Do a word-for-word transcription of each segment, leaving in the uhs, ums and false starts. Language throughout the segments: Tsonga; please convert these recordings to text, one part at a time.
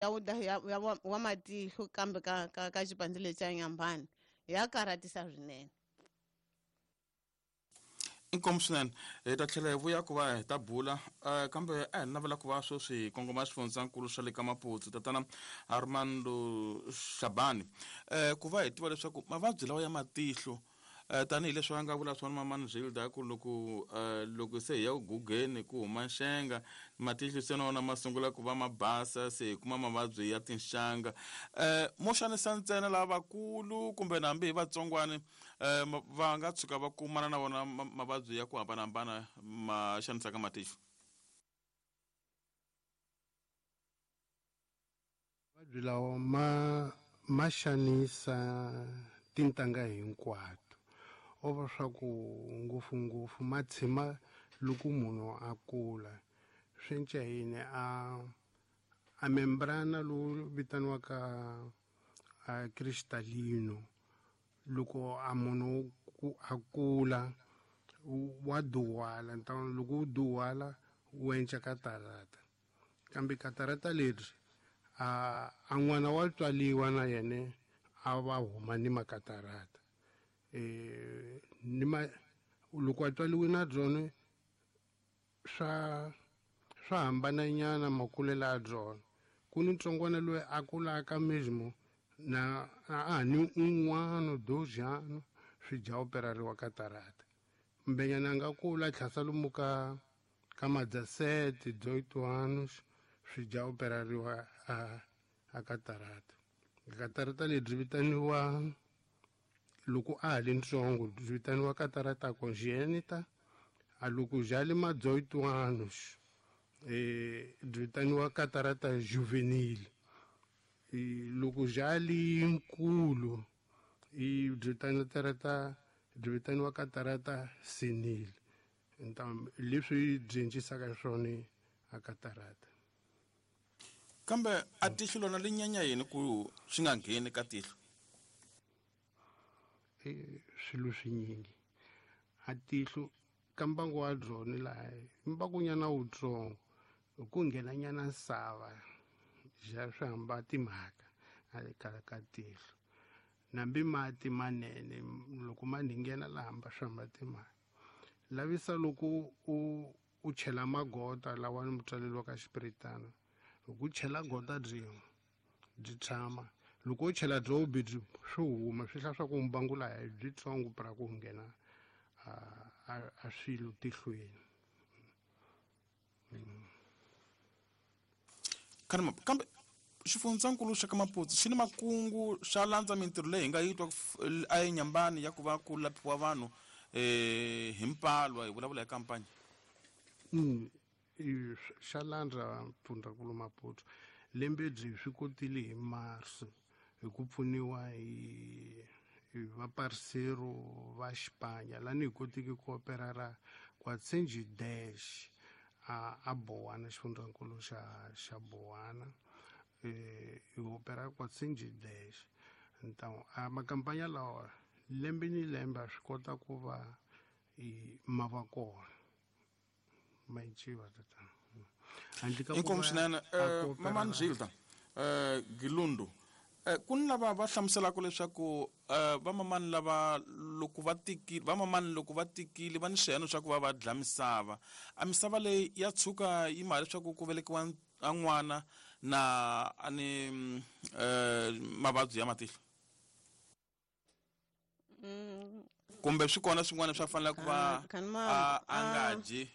ya ya, ya wa matihlo kambe ka ka ka xipandza lexi xa Nyambani ya karhatisa swinene. Inkomu swinene, hi ta tlhela hi vuya ku va hi ta bula uh, kambe a hi navela ku va sweswi kongoma xifundzankulu xa le ka Maputo tatana Armando Shabani, uh, ku va hi tiva leswaku mavabyi lawa ya matihlo uh, tanihileswi va nga vula swona mamani Zilda ku loko uh, loko se hi ya ku gugeni ku huma nxenga matihlo se na wona ma sungula ku va ma basa, se hi kuma mavabyi ya tinxanga, uh, mo xanisa ntsena lavakulu kumbe na hambi hi vatsongwani uh, va nga tshuka va kumana na wona mavabyi ya ku hambanahambana ma xanisaka matihlo? Mavabyi lawa ma ma xanisa tintangha hinkwato, o va swa ku ngopfungopfu ma tshima loko munhu a kula. Swi cinca yini? A a membrana lowu vitaniwaka a cristalino, loko a munhu a kula wa duwala, loko wu duwala wu enca katarata, kambe katarata leri a a n'wana wa tswaliwa na yena a va huma ni makatarata. Eh ni ma loko a tswaliwe na byona swa swa hambananyana makulelo ya byona. Ku ni ntsongwana loyi a kulaka mesmo na a ni un'wana dozhano swi dya operariwa katarata, mbenyana a nga kula tlhasa lomu ka ka madzasete doitwanos swi dya operariwa a a katarata. Katarata lebyi vitaniwa loko a ha li ntsongo byi vitaniwa katarata congenita, a loko bya le madzoitwanos eh byi vitaniwa katarata juvenile, loko bya li nkulu i byi vitaniwa katarata byi vitaniwa katarata senile. Ntam leswi byi cincisaka swona a katarata. Kambe a tihlo lona li nyanya yini ku swi nga ngheni ka tihlo? Swilo swinyingi a tihlo ka mbangu wa byona laha mbangunyana wutsongo ku nghenanyana nsava ja swi hamba timhaka a ka ka tihlo, nambi mati manene loko ma nghena laha hamba swi hamba timhaka. Lavisa loko u u chela magota lawa ni mutswalelo ka xipiritana, loko u chela gota byin'we byi tshama, loko u chela byo byi swi huma swi hla swa ku mbangu laha byi tsongo pra ku nghena a a swilo tihlweni. Kambe kambe xifundzankulu xa ka Maputo xi ni makungu xa landza mintirho leyi hi nga yi twa a eNyambani ya ku va ku laphiwa vanhu eh hi mpalwa, hi vulavula hi kampani? Mm, xa landza Mpfundzankulu Maputo lembe byi swi kotile hi Mars hi ku pfuniwa hi hi vaparisero va Xipanya lani hi kotiki ku operara Kwatsenji dash a a Bowana, xifundzankulu xa xa Bowana, eh hi opera Kwatsenji dash. Ntamu a makampanya lawa lembe ni lembe a swi kota ku va ma va kona ma civa tatana. Inkomu swinene mamani Zilda eh Gilundu, ku ni lava va hlamuselaka leswaku vamamani lava loko va tikile vamamani loko va tikile va ni swiheno swa ku va va dla misava, a misava leyi ya tshuka yi mali leswaku ku velekiwa a n'wana na a ni mavabyi ya matihlo, kumbe swi kona swin'wana swa fanele ku va a nga dyi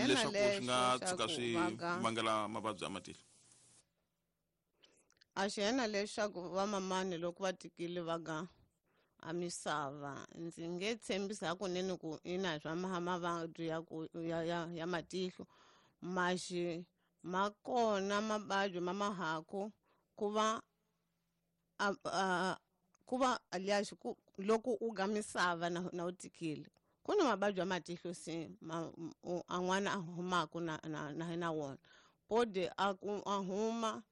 leswaku swi nga tshuka swi vangela mavabyi ya matihlo? A xi hena leswaku vamamani loko va tikile va ga a misava, ndzi nge tshembisi hakunene ku ina swa mavabyi ya ku ya ya ya matihlo maxi ma kona mavabyi ma mahaku ku va a, a ku va alias ku loko u ga misava na, na u tikile ku na mavabyi ya matihlo se ma, a n'wana a humaka na na na, na wona pode a ku a huma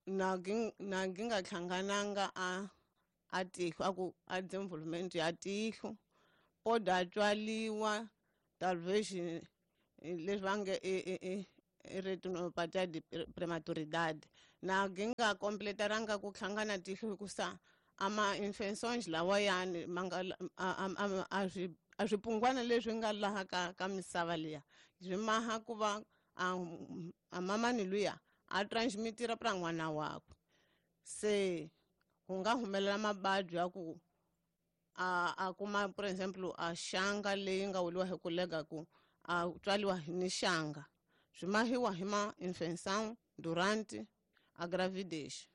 na na ngi nga hlangananga a a tihlo a ku a development ya tihlo pode a tswaliwa talvez leswi va nge i i retinopatía de prematuridade Na ginga kompletaranga ku hlangana tihlo hikusa ama infections lawa yani manga a swi a swipungwana leswi nga laha ka ka misava liya swi maha ku va a mamani luya a transmitira pra n'wana wakwe. Se ku nga humelela mabadyi ya ku a a kuma for example a xanga leyi nga wuriwa hi ku lega ku a tswaliwa ni xanga swi mahiwa hi ma infection durante a gravidez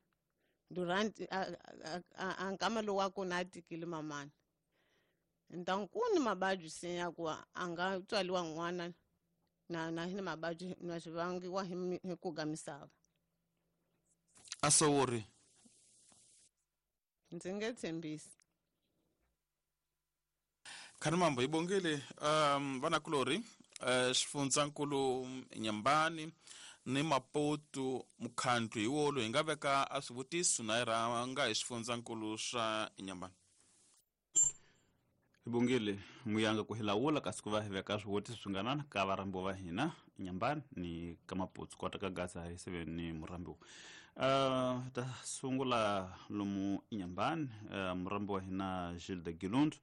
durante a a nkama lowu wa kona a tikile mamani. Então ku ni mabadyi se ya ku a nga tswaliwa n'wana na na hi mabadyi na swi vangiwa hi ku ga misava. A sowori ndzi nge tshembisi. Khanimambo hi bongile um vanakulorhi uh, xifundzankulu Nyambani ni Maputo mukhandlu hi wolo hi nga veka a swivutiso na hi rhanga hi xifundzankulu swa Nyambani. Hi bongile muyanga ku hi lawula kasi ku va hi veka swivutiso swinganana ka varhambiwa va hina Nyambani ni ka Maputo kota ka Gaza hi seven ni murhambiwa. Uh, ta sungula lomu Nyambani uh, murhambiwa wa hina Gilles de Gilund.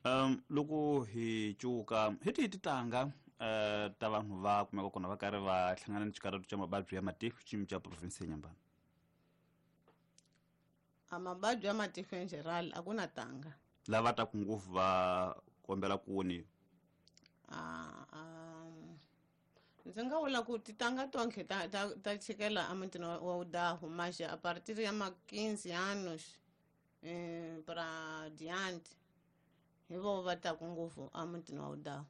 Um, loko hi cuka hi tihi titanga uh, ta vanhu va kumeka kona va karhi va hlangana ni xikarhato xa mavabyi ya matihlo xiyimo xa province ya Nyambani? A mavabyi ya matihlo in general a ku na tanga. Lava taku ngopfu va kombela ku voniwa? Ndzi nga vula ku titanga tonke ta ta ta chikela emutini wa Udahu mas a partir ya ma quinze anos eh, para diante hi vo va taku ngopfu emutini wa Udahu.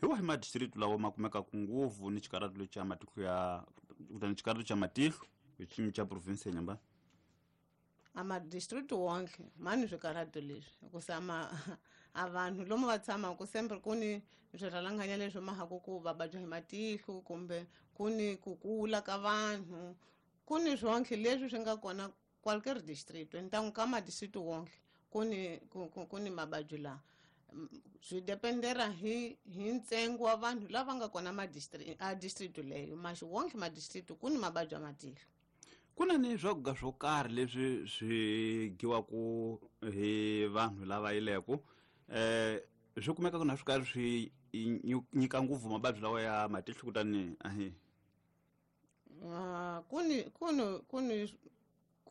Hi wahi madistrict lawa ma kumekaku ngopfu ni xikarhato lexi xa matihlo ya kutani xikarhato xa matihlo hi xiyimo xa province ya Nyambani? A madistrict wonke ma ni swikarhato leswi hikusa ma a vanhu lomu va tshamaka sempre ku ni swirhalanganya leswi mahaku ku va vabya hi matihlo kumbe ku ni ku kula ka vanhu ku ni swonke leswi swi nga kona qualquer district. Então ka madistrict wonke ku ni ku, ku, ku ni mavabyi laha swi dependera hi hi ntsengo wa vanhu lava nga kona ma district a district leyo mas wonke ma district ku ni mavabyi ya matihlo. Ku na ni swakudya swo karhi leswi swi dyiwaku hi vanhu lava yileko eh swi kumeka ku na swi karhi swi nyika ngopfu mavabyi lawa ya matihlo kutani ahi ku ni ku ni ku ni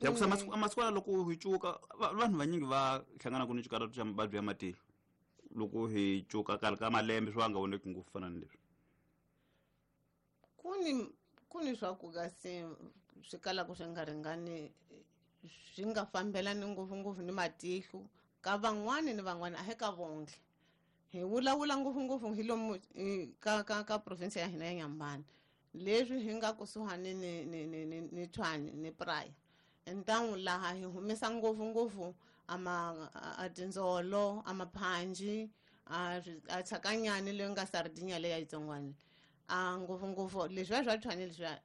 ya ku masiku masiku loko hi cuka vanhu vanyingi va hlangana ku ni xikarhato xa mavabyi ya matihlo loko hi cuka karhi ka malembe swi va nga voneki ngopfu fana ni leswi. Ku ni ku ni swakudya se swi kalaka swi nga ringani swi nga fambelani ngopfungopfu ni matihlo ka van'wani ni van'wani a hi ka vonke. Hi vulavula ngopfungopfu hi lomu ka ka ka province ya hina ya Nyambani leswi hi nga kusuhani ni ni ni ni ni Tshwane ni Praia. Então laha hi humesa ngopfungopfu ama a tindzolo a maphanji a a tshakanyani leyi nga sardinya leyi yitsongwana a ngopfungopfu leswiya swa Tshwane leswiya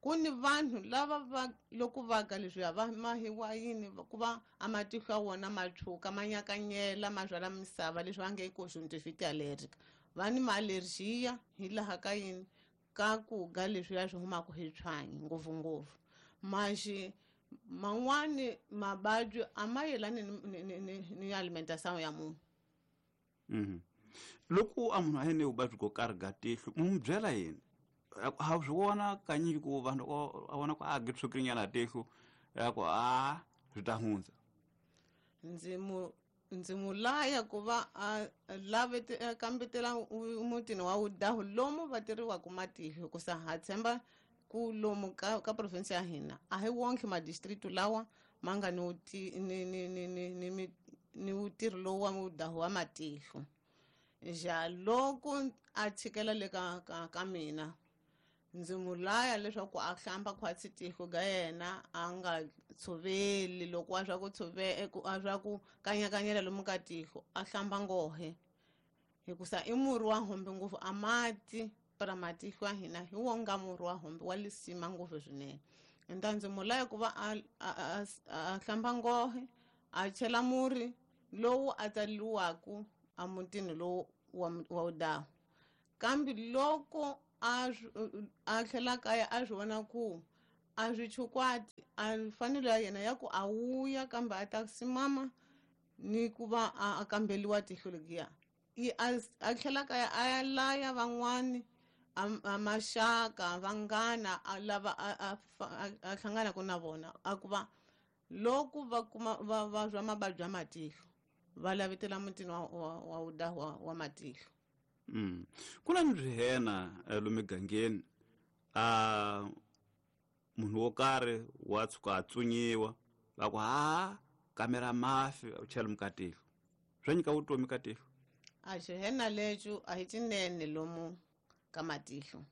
ku ni vanhu lava va loko va ka leswiya va mahiwa yini ku va a matihlo ya wona ma tshuka ma nyakanyela ma byala misava leswi va nge i conjonctivite allergica va ni ma-allergia hi laha ka yini ka ku ga leswiya swi humaka hi Tshwane ngopfungopfu. Maxi man'wani mavabyi a ma yelani ni, ni, ni, ni alimentação ya munhu. Mm-hmm. Loko a munhu a yini vuvabyi byo karhi ga tihlo mu byela yini? Ha swi vona kanyingi ku vanhu a vona ku a ge tshukirinyana tihlo ya ku a swi ta hundza. Ndzi mu ndzi mu laya ku va a lave kambetela mutini wa Udahu lomu va tirhiwaka matihlo hikusa ha tshemba ku lomu ka, ka province ya hina a hi wonke madistrict lawa ma nga ni ni ni ni ni ni ni ntirho lowu wa Udahu wa matihlo. Ja loko a tshikela le ka ka, ka mina ndzi mu laya leswaku a hlamba khwatsi tihlo ga yena a nga tshoveli loko a swa ku tshove a swa ku kanyakanyela lomu ka tihlo a hlamba nghohe hikusa i murhi wa hombe ngopfu a mati para matihlo ya hina hi wo nga murhi wa hombe wa lisima ngopfu swinene. Então ndzi mu laya ku va a, a, a, a hlamba nghohe a chela murhi lowu a tsaliwaku emutini lowu wa, wa Udahu. Kambe loko a a tlhela kaya a swi vona ku A swi chukwati a fanelo ya yena ya ku a wuya kambe a ta simama ni ku va a kambeliwa tihlo legiya i a tlhela kaya a ya laya van'wani a maxaka vanghana a lava a a hlanganaka na vona a ku va loko va kuma va va zwa mavabyi ya matihlo va lavetela mutini wa wa wa wa, wa matihlo. Mm. Ku na ni swihena lomu migangeni a munhu wo karhi wa tshuka a tsunyiwa va ku ha kamera mafi u chela mukatihlo swa nyika vutomi ka tihlo. A xihena lexo a hi cinene lomu ka matihlo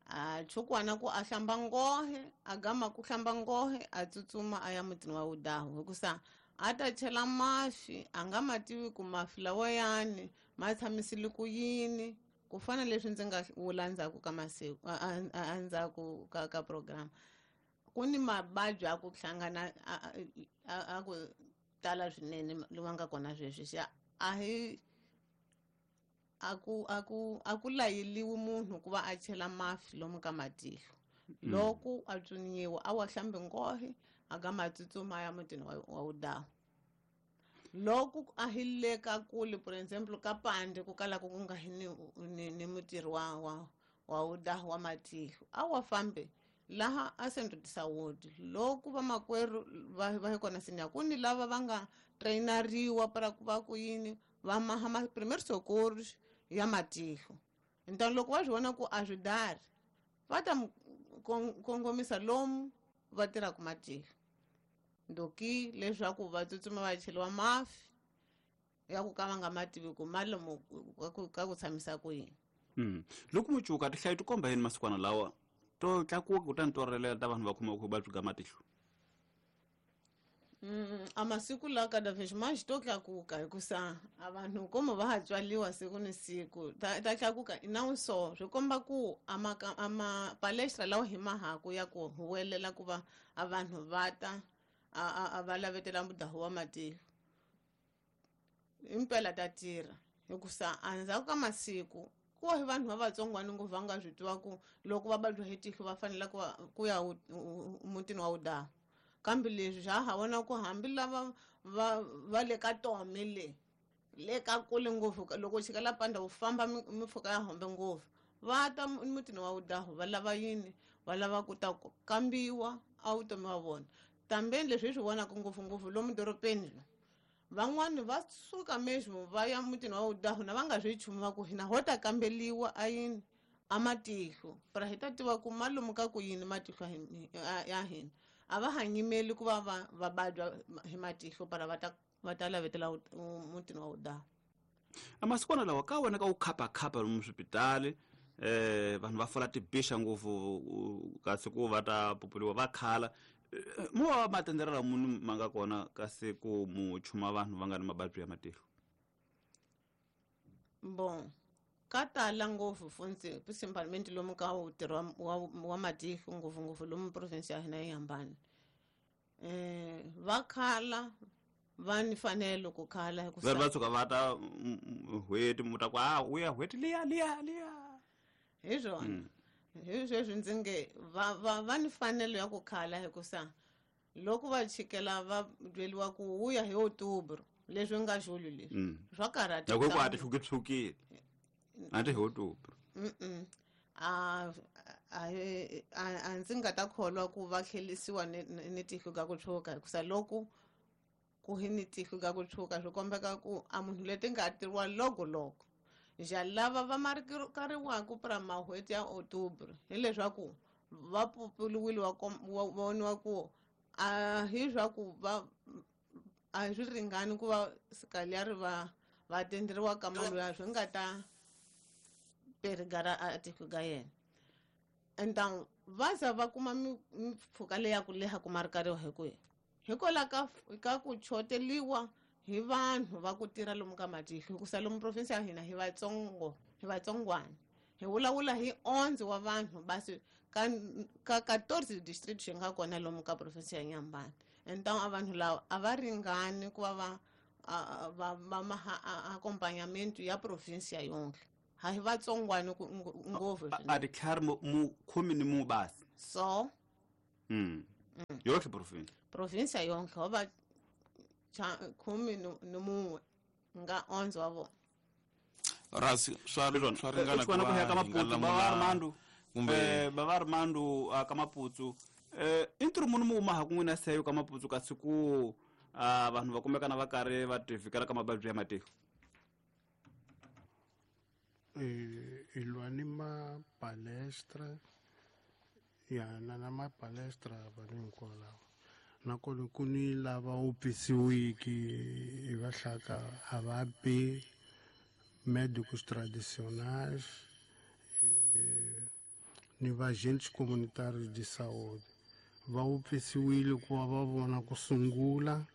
a chukwana ku a hlamba ngohe a gama ku hlamba ngohe a tsutsuma a ya mutini wa wudahu hikusa a ta chela mafi a nga ma tivi ku mafi lawayani ma tshamisile ku yini ku fana leswi ndzi nga vula ndzhaku ka masiku endzhaku ka ka program ku ni mavabyi a ku hlangana a ku tala swinene lowa nga kona sweswi xa a hi a ku a ku a ku layeliwi munhu ku va a chela mafi lomu ka matihlo loko a tsuniwa a wa hlambi ngohe a ga ma tsutsuma ya mutini wa wa wudahu loko a hi le ka kule for example ka pande ku kala ku nga hi ni ni, ni mutirhi wa wa wa wudahu wa matihlo a wa fambe laha a Centro de Saúde loko vamakwerhu va va hi kona sinya ku ni lava va nga trainariwa para ku va ku yini va maha ma primeiro socorros ya matihlo então loko va swi vona ku a swi dari va ta kongomisa lomu va tirhaka matihlo ndoki leswaku va tsutsuma va cheliwa mafi ya ku ka va nga ma tivi ku ma lomu ka ku tshamisa ku yini. Mm. Loko mucuka tihlayo ti komba yini masikwana lawa to tlakuka kutani to relela ta vanhu va khomiwa ku vuvabyi bya matihlo? Mm, a masiku lawa cada vez mais to tlakuka hikusa a vanhu como va ha tswaliwa siku ni siku ta, ta tlakuka não só swi komba ku a ma a ma palestra lawa hi mahaku ya ku huwelela ku va a vanhu va ta a a va lavetela mudahu wa matihlo impela ta tirha hikusa endzhaku ka masiku ku hi vanhu va vatsongwana ngopfu va nga swi tiva ku loko va vabya hi tihlo va fanele ku ku ya mutini wa wudahu kambe leswi swa ha vona ku hambi lava va va le ka tome le le ka kule ngopfu loko chika la panda u famba mimpfhuka ya hombe ngopfu va ta mutini wa wudahu va lava yini va lava ku ta kambiwa a vutomi wa vona tambeni leswi hi swi vonaka ngopfungopfu lomu dorobeni lo van'wani va suka mesmo va ya mutini wa wudahu na va nga swi nchumu va ku hina ho ta kambeliwa a yini a matihlo para hi ta tiva ku ma lomu ka ku yini matihlo ya hina a va ha nyimeli ku va va va vabya hi matihlo para va ta va ta lavetela mutini wa wudahu. A masikwana lawa ka wena ka wu khapakhapa lomu swipitali eh vanhu va fola tibixa ngopfu kasi ku va ta populiwa va khala mo va matenderela munhu ma nga kona kasi ku mu chuma vanhu va nga ni mavabyi ya matihlo? Bon ka tala ngopfu funtsi principalmente lomu ka ntirho wa, wa matihlo ngopfungopfu lomu province ya hina yi hambana eh va khala va ni fanelo ku khala hikuva va tshuka va ta n'hweti mu ta ku a u ya n'hweti liya liya liya hi swona hi sweswi ndzi nge va va va ni fanelo ya ku khala hikusa loko va chikela va byeliwa ku wuya hi outubro leswi nga xulu leswi swa karhata loko ku a ti hlukitshukile a ti hi outubro. Mm a a a ndzi nga ta kholwa ku va tlhelisiwa ni ni tihlo ka ku tshuka hikusa loko ku hi ni tihlo ka ku tshuka swi kombeka ku a munhu leti nga tiriwa loko loko ja lava va marikariwaka pra mahweti ya outubro hileswaku va pupuluwile wa voniwa ku a hi swa ku va a swi ringani ku va sikaliari va va tenderiwa ka mali ya swi nga ta perigara a tihlo ka yena então va za va kuma mimpfhuka leya ku leha ku marikariwa hi ku hikwalaho ka ka ku choteliwa hi vanhu va ku tirha lomu ka matihlo hikusa lomu province ya hina hi vatsongo hi vatsongwana hi vulavula hi onze wa vanhu basi ka ka quatorze district xi nga kona lomu ka province ya Nyambani então a vanhu lava a va ringani ku va va va va maha accompagnamento ya province ya yonke ha hi vatsongwana ngopfu a ditlhare mu khume ni mu basi so Mm. Yotlhe province. Province yonke ho va khume ni mun'we nga onze wa vona. Rasi swa swa ringana ku ya ka Maputo ba Armando kumbe ba Armando ka Maputo eh intro munhu mu ma ha kun'wina seyo ka Maputo kasi ku vanhu va kumekana va karhi va tivikela ka mavabyi ya matihlo. Eh ilwa ni ma palestra ya na na ma palestra vanhu hinkwavo nakona ku ni lava wu pisiwiki hi va hlaka a va bi médicos tradicionais eh, ni va agentes comunitários de saúde va wu pfisiwile ku va va vona ku sungula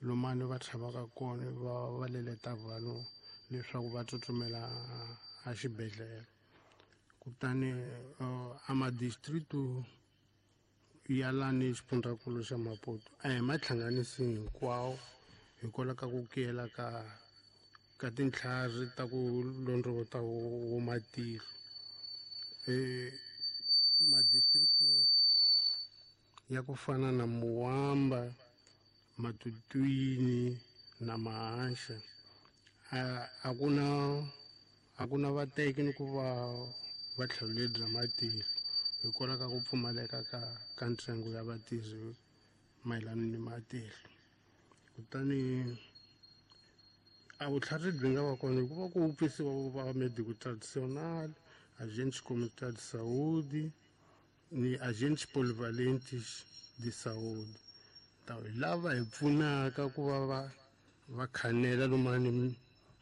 lomani va tshamaka kona va va leleta vanhu leswaku va tsutsumela a xibedhlele. Kutani uh, a madistritu ya lani xifundzankulu xa Maputo a hi ma hlanganisi hinkwawo hikwalaho ka ku kuyela ka ka tintlhari ta ku londrovota wo matihlo. Eh madistritu ya ku fana na Muwamba, Matutuini na Mahaxa a a ku na a ku na vateki ni ku va va tlhelo bya matihlo hikwalaho ka ku pfumaleka ka ka ntsengo ya vatirhi mayelana ni matihlo. Kutani a vutlhari byi nga va kona hikuva ku pfisiwa va médico tradicional, agentes comunitários de saúde ni agentes polivalentes de saúde. Ta lava hi pfunaka ku va va va khanela lomani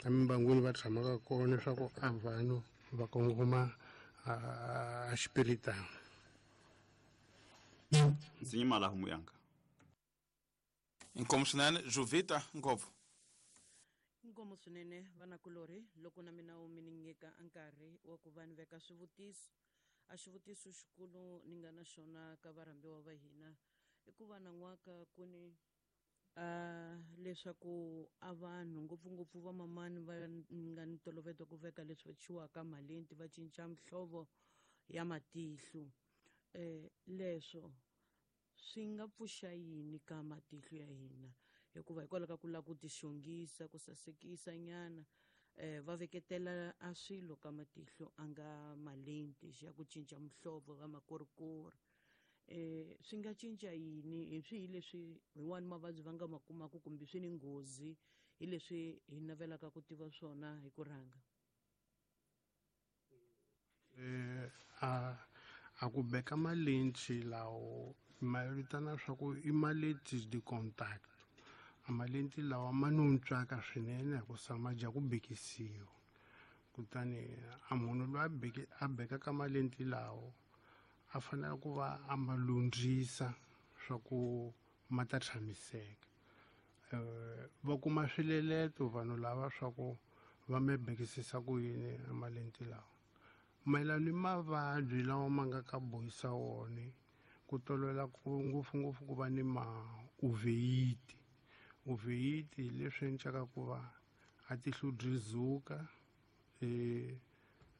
emimbangwini va tshamaka kona leswaku a vanhu va kongoma a xipiritana. Ndzi nyimala homu yanga. Inkomu swinene Jovita ngopfu. Inkomu swinene vanakulorhi loko na mina wu mi ni nyika nkarhi wa ku va ni veka swivutiso. A xivutiso xikulu ni nga na xona ka varhambiwa va hina i ku va nan'waka ku ni a leswaku a vanhu ngopfungopfu va mamani va nga ni ntolovelo ku veka leswi va chiwaka malenti va cinca mihlovo ya matihlo. Eh leswo swi nga pfuxa yini ka matihlo ya hina hikuva hikwalaho ka ku lava ku tixongisa ku sasekisa nyana eh va veketela a swilo ka matihlo a nga malenti ya ku cinca mihlovo va makorikori. Eh swi nga cinca yini hi swihi leswi hin'wani mavabyi va nga ma kumaka kumbe swi ni nghozi hi leswi hi navelaka ku tiva swona hi ku rhanga? Eh a a ku beka malenti lawo ma vitana swa ku i malenti de contact. A malenti lawa ma nuntswaka swinene hikusa ma dya ku bekisiwa. Kutani a munhu loyi a beke a bekaka malenti lawo a fanele ku va a ma lundzisa swa ku ma ta tshamiseka. Eh va kuma swileleto vanhu lava swa ku va me bekisisa ku yini a malenti lawa. Mayelana ni mavabyi lawa ma nga ka bohisa wona ku tolovela ku ngopfungopfu ku va ni ma uveyiti. Uveyiti leswi endlaka ku va a tihlo byi zuka eh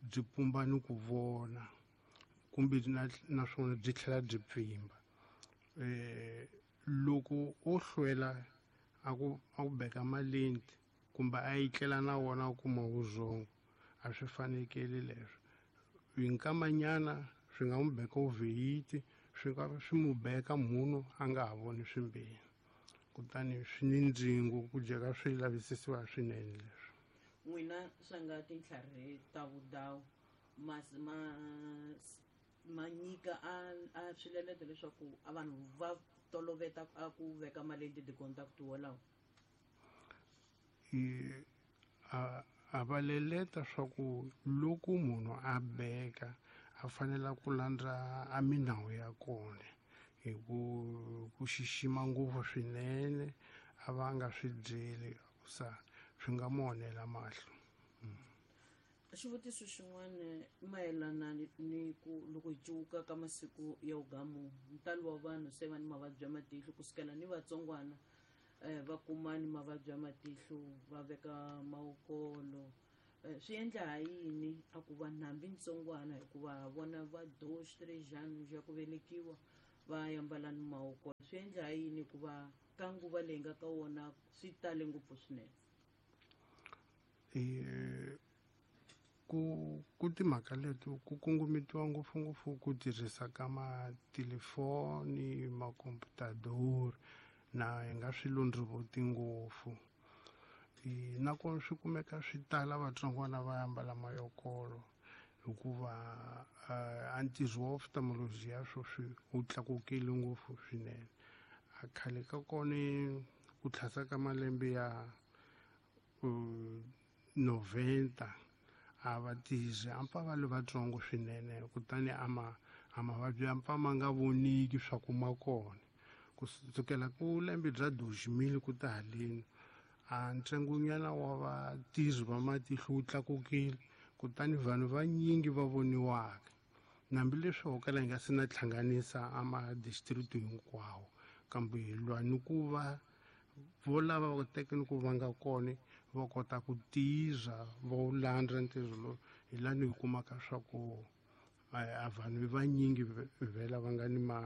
byi pumba ni ku vona kumbe naswona byi tlhela byi pfimba. Eh loko o hlwela a ku a ku beka malenti kumbe a yitlela na wona u kuma vuzongo a swi fanekele leswo. Hi nkamanyana swi nga n'wi beka uveyiti swi nga swi n'wi beka munhu a nga ha voni swimbirhi. Kutani swi ni ndzingo ku dyeka swi lavisisiwa swinene leswi. N'wina swa nga tintlhari ta vudawu ma ma ma nyika a a swileleto leswaku a vanhu va toloveta a ku veka malenti de contact wolawo? A a va leleta swa ku loko munhu a beka a fanele ku landza a minawu ya kona hi ku ku xixima ngopfu swinene a va nga swi byeli sa swi nga mo onhela mahlo. Xivutiso xin'wana mayelana ni ku loko hi cuka ka masiku ya ugamu ntalo wa vanhu se va ni mavabyi ya matihlo kusukela ni vatsongwana eh va kuma ni mavabyi ya matihlo va veka mawukolo swi endla ha yini a ku va hambi ntsongwana hikuva vona va dos três anos ya ku velekiwa Va yambala ni mawoko. Swi endla yini ku va ka nguva leyi nga ka wona swi tale ngopfu swinene? E ku ku timhaka leti ku kongometiwa ngopfungopfu ku tirhisa ka matelefoni, makomputadori na hi nga swi londrovoti ngopfu. E nakona swi kumeka swi tala vatsongwana va ambala mayokolo hikuva a ntirho wa ophthalmology ya sweswi wu tlakukile ngopfu swinene. A khale ka kona ku tlhasa ka malembe ya noventa a va tirhi a pfa va le vatsongo swinene, kutani a ma a mavabyi ya pfa ma nga voniki swa ku ma kona. Kusukela ku lembe bya deux mille ku ta haleni a ntsengonyana wa vatirhi va matihlo wu tlakukile, kutani vanhu vanyingi va voniwaka. Hambileswi ho kala hi nga se na hlanganisa a ma-district hinkwawo, kambe hi lwa ni ku va vo lava va teke ni ku va nga kona va kota ku tirha va wu landza ntirho lowu, hi lani hi kumaka swa ku a vanhu vanyingi vhela va nga ni ma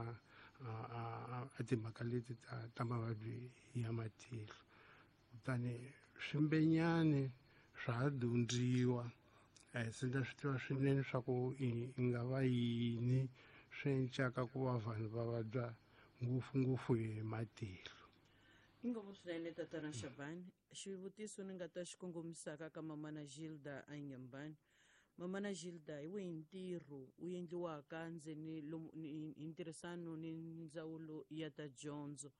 a timhaka leti ta ta mavabyi ya matihlo. Kutani swimbenyani swa ha dyondziwa, se ndza swi tiva swinene swa ku i nga va yini swi encaka ku va vanhu va vabya ngopfungopfu hi matihlo. Inkomu swinene tatana Shabani. Xivutiso ni nga ta xi kongomisaka ka mamana Gilda Anyambani. Mamana Gilda, hi wihi ntirho wu endliwaka ndzeni lomu hi ntirhisano ni ndzawulo ya ta dyondzo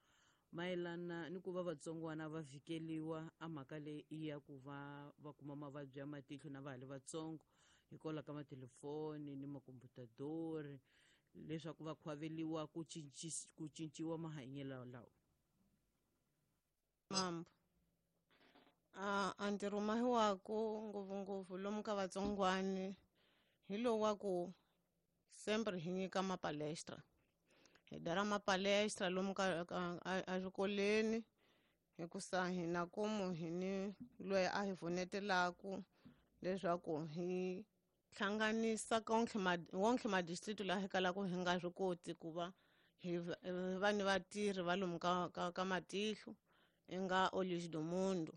mayelana ni ku va vatsongwana va vhikeliwa a mhaka leyi ya ku va va kuma mavabyi ya matihlo na va ha li vatsongo hikwalaho ka matelefoni ni makomputadori, leswaku va khwaveliwa ku ku cinciwa mahanyelo lawa? Mambo a a ntirho mahiwaku ngopfungopfu lomu ka vatsongwani hi lowu wa ku sempre hi nyika mapalestra, hi dara mapalestra lomu ka eswikolweni, hikusa hina komu hi ni loyi a hi pfunetelaku leswaku hi hlanganisa konke wonke madistrict laha hi kalaka hi nga swi koti ku va hi va ni vatirhi va lomu ka ka ka matihlo i nga Olhos do Mundo.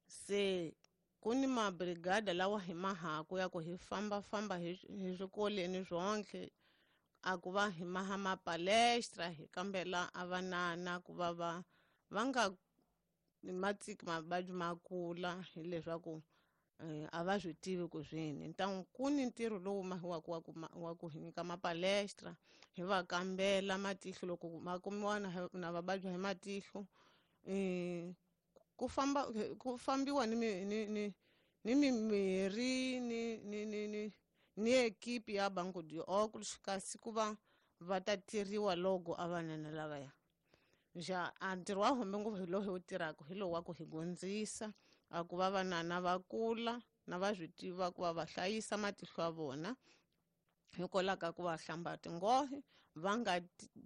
Se ku ni mabrigada lawa hi mahaku ya ku hi fambafamba hi hi swikolweni swonke a ku va hi maha mapalestra, hi kambela a vanana ku va va va nga matiki mavabyi ma kula hileswaku a va swi tivi ku swini. Ntangu ku ni ntirho lowu mahiwaku wa ku wa ku hi nyika mapalestra, hi va kambela matihlo loko ma kumiwa na na vavabyi hi matihlo. Ku famba ku fambiwa ni ni ni ni mimirhi ni ni ni ni ni ekipi ya Banco de Óculos, kasi ku va va ta tirhiwa loko a vanana lavaya. Ja a ntirho wa hombe ngopfu hi lowu hi wu tirhaka hi lowu wa ku hi gondzisa a ku va vanana va kula na va swi tiva ku va va hlayisa matihlo ya vona hikwalaho ka ku va hlamba tinghohe, va nga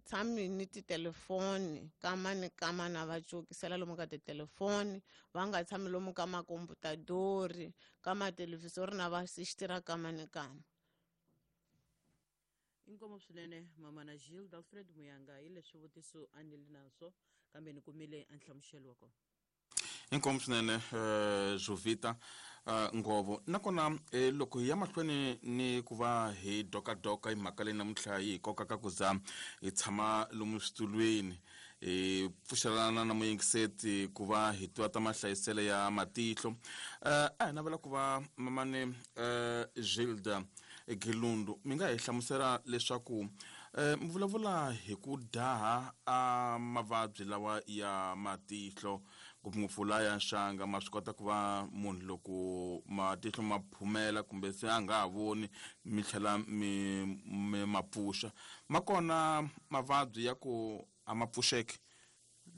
tshami ni titelefoni kama ni kama na va cokisela lomu ka titelefoni, va nga tshami lomu ka makomputadori ka mathelevhizori na va sixtira kama ni kama. Inkomu swinene mamana Gilda. Alfred Muyanga, hi leswi swivutiso a ni li naswo kambe ni kumile a nhlamuselo wa kona. Inkomu swinene Jovita Ngovo. Nakona loko hi ya mahlweni ni ku va hi dokadoka hi mhaka leyi namuntlha yi hi kokaka ku za hi tshama lomu switulwini hi pfuxelana na muyingiseti ku va hi tiva ta mahlayiselo ya matihlo, a hi navela ku va mamane Gilda Gilundu mi nga hi hlamusela leswaku mi vulavula hi ku daha a mavabyi lawa ya matihlo ngopfungopfu la ya nxanga, ma swi kota ku va munhu loko matihlo ma phumela kumbe se a nga ha voni mi tlhela mi mi ma pfuxa. Ma kona mavabyi ya ku a ma pfuxeki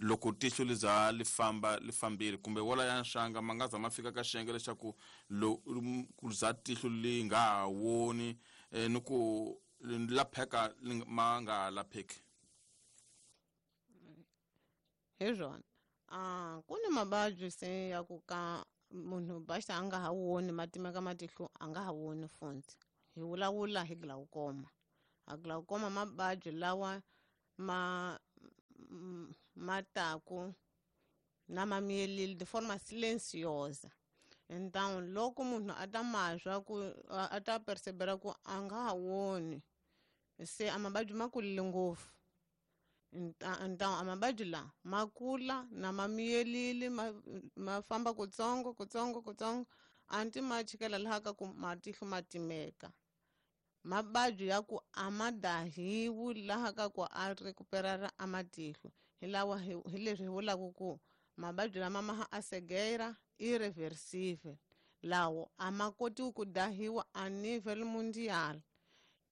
loko tihlo li za li famba li fambile, kumbe wala ya nxanga ma nga za ma fika ka xiyenge leswaku ku za tihlo li nga ha voni ni ku lapheka ma nga ha lapheki? Hi swona a ku ni mavabyi se ya ku ka munhu basta a nga ha voni ma timeka matihlo a nga ha voni futhi. Hi vulavula hi glaucoma. A glaucoma mavabyi lawa ma ma taku na ma miyelile de forma silenciosa. Então loko munhu a ta ma swa ku a ta percebera ku a nga ha woni se a mavabyi ma kulile ngopfu. Então a mavabyi la ma kula na ma miyelile ma, ma famba kutsongo kutsongo kutsongo anti ma chikela laha ka ku matihlo ma timeka. Mavabyi ya ku a ma dahiwi laha ka ku a recuperara a matihlo hi lawa hi leswi hi vulaka ku mavabyi lama ma a cegueira irreversible lawo a ma kotiwi ku dahiwa a nível mundial.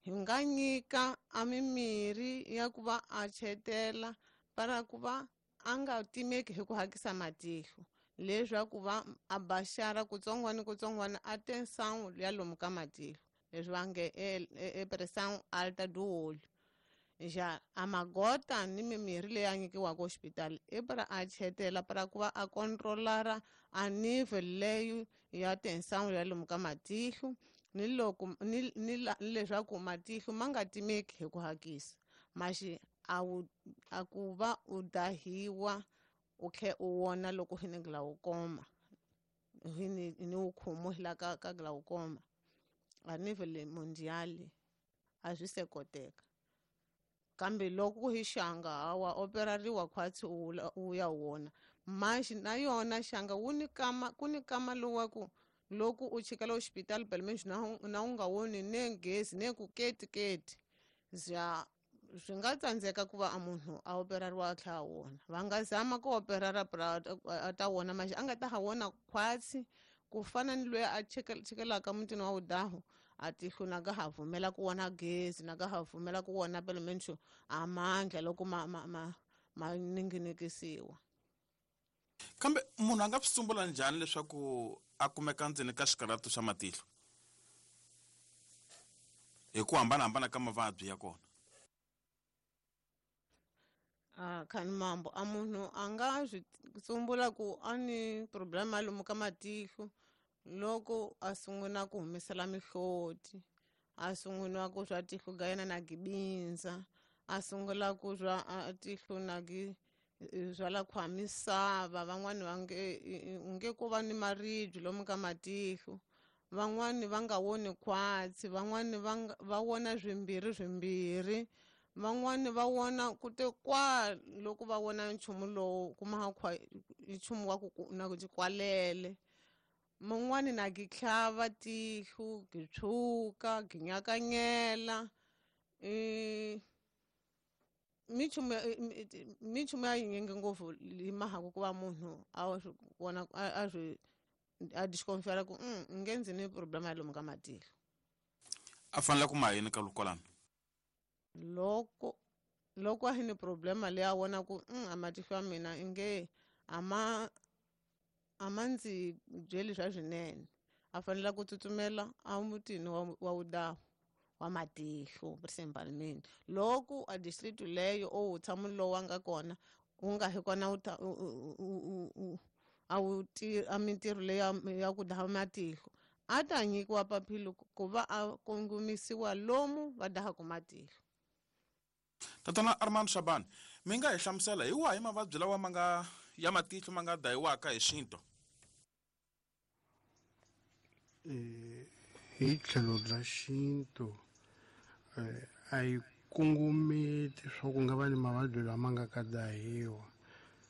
Hi nga nyika a mimirhi ya ku va a chetela para ku va a nga timeki hi ku hakisa matihlo leswaku va a baxara kutsongwana kutsongwana a tensão ya lomu ka matihlo leswi va nge e pressão alta do olho. Já a magota ni mimirhi leyi a nyikiwaka hospital i para a chetela para ku va a controlara a nível leyo ya tensão ya lomu ka matihlo ni loko ni ni leswaku matihlo ma nga timeki hi ku hakisa maxi a wu a ku va u dahiwa u khe u wona loko hi ni glaucoma hi ni ni wu khomo la ka ka glaucoma a nível mundial a swi se koteka. Kambe loko hi xanga wa operariwa khwatsi u ya wona maxi na yona xanga wu ni kama ku ni kama lowa ku loko u chikela hospital pelo menos na na u nga woni ne gezi ne ku keti keti za swi nga tsandzeka ku va a munhu a operariwa a tlhela a wona. Va nga zama ku operara a ta wona maxi a nga ta ha wona khwatsi ku fana ni loyi a chikelaka mutini wa wudahu a tihlo na ka ha vumela ku wona gezi na ka ha vumela ku wona pelo menos a mandla loko ma ma ma ma ninginikisiwa. Kambe munhu a nga swi tsumbula njhani leswaku a kumeka ndzeni ka xikarhato xa matihlo hi ku hambanahambana ka mavabyi ya kona? A khani mambo a munhu a nga swi tsumbula ku a ni problema lomu ka matihlo loko a sungula ku humesela mihloti, a sungula ku swa tihlo ga yena na gibinza, a sungula ku swa tihlo na gi swa la khwamisava. Van'wani va nge nge ku va ni maribye lomu ka matihlo, van'wani va nga woni khwatsi, van'wani va va wona swimbirhi swimbirhi, van'wani va wona ku te kwa loko va wona nchumu lowu kuma khwa nchumu wa ku na ku kwalele. Man'wani na gi tlhava tihlo gi tshuka gi nyakanyela i minchumu minchumu ya yinyingi ngopfu hi mahaku ku va munhu a swi vona a swi a disconfiara ku nge ndzi ni problema ya lomu ka matihlo. A fanele ku ma yini ka lukolano loko loko a hi ni problema leyi a vona ku a matihlo ya mina inge a ma a ma ndzi byeli swa swinene, a fanele ku tsutsumela a mutini wa wa wudahu wa matihlo principalmente loko a district leyo o tshama lowu a nga kona wu nga hi kona u a wu a mintirho leyi ya ku daha matihlo a ta nyikiwa papilo ku va a kongomisiwa lomu va dahaka matihlo. Tatana Armand Shaban, mi nga hi hlamusela hi wahi mavabyi lawa ma nga ya matihlo ma nga dayiwaka hi xintu? Hi tlhelo ra xintu a yi kongometi swa ku nga va ni mavabyi lama nga ka dahiwa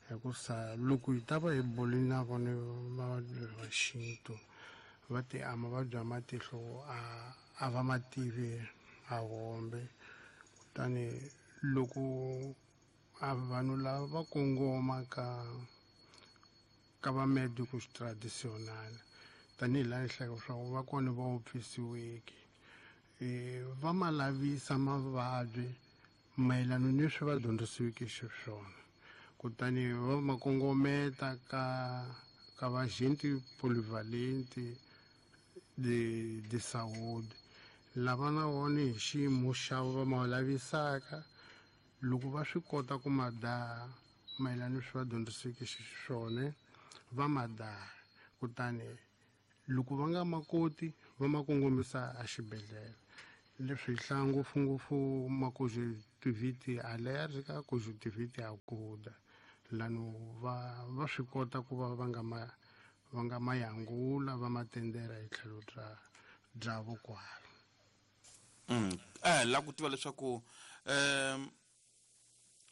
hikusa loko hi ta va hi boli na vona mavabyi va xintu va te a mavabyi ya matihlo a a va ma tivi a hombe. Kutani loko a vanhu lava va kongoma ka ka va médicos tradicional tanihi laha hlaya leswaku va kona va wupfisiweke va ma lavisa mavabyi mayelana ni leswi va dyondzisiweke xiswona. Kutani va ma kongometa ka ka va agente polyvalente de de saúde lava na vona hi xiyimo xa va ma lavisaka loko va swi kota ku ma daha mayelana ni leswi va dyondzisiweke xiswona va ma daha. Kutani loko va nga ma koti va ma kongomisa exibedhlele. Leswi hi hlaya ngopfungopfu makozi Conjunctivite alérgica, conjuntivite aguda. Lano va va swi kota ku va va nga ma va nga mayangula va matendera hi tlhelo bya bya vokwala. Mm. Eh la ku tiva leswaku eh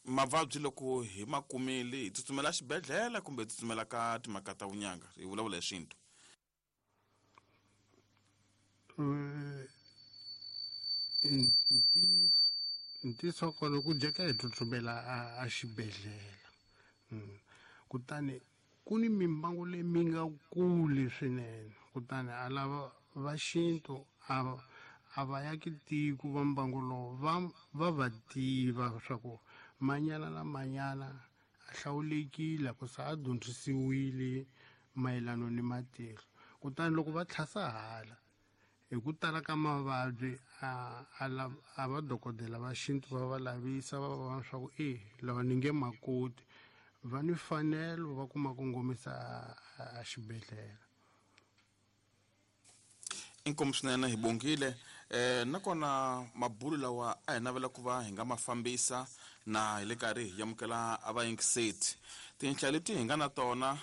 mavabyi loko hi makumile hi tsutsumela xibedhlele kumbe hi tsutsumela ka timhaka ta vunyanga hi vulavula hi xintu. Ntiyiso kona ku jeka hi tsutsumela a xibedhlele. Kutani ku ni mimbangu leyi mi nga kuli swinene kutani a lava va xintu a a va yaki tiko va mbangu lowu va va va tiva swa ku manyana na manyana a hlawulekile ku sa a dyondzisiwile mayelana ni matihlo. Kutani loko va tlhasa hala hi ku tala ka mavabyi a a a va dokodela va xintu va va lavisa va va swa ku e lava ni nge makoti va ni fanelo va kuma kongomisa a xibedhlele. Inkomu swinene hi bongile eh nakona mabulu lawa a hi navela ku va hi nga ma fambisa na hi le karhi hi amukela a vayingiseti. Tinhla leti hi nga na tona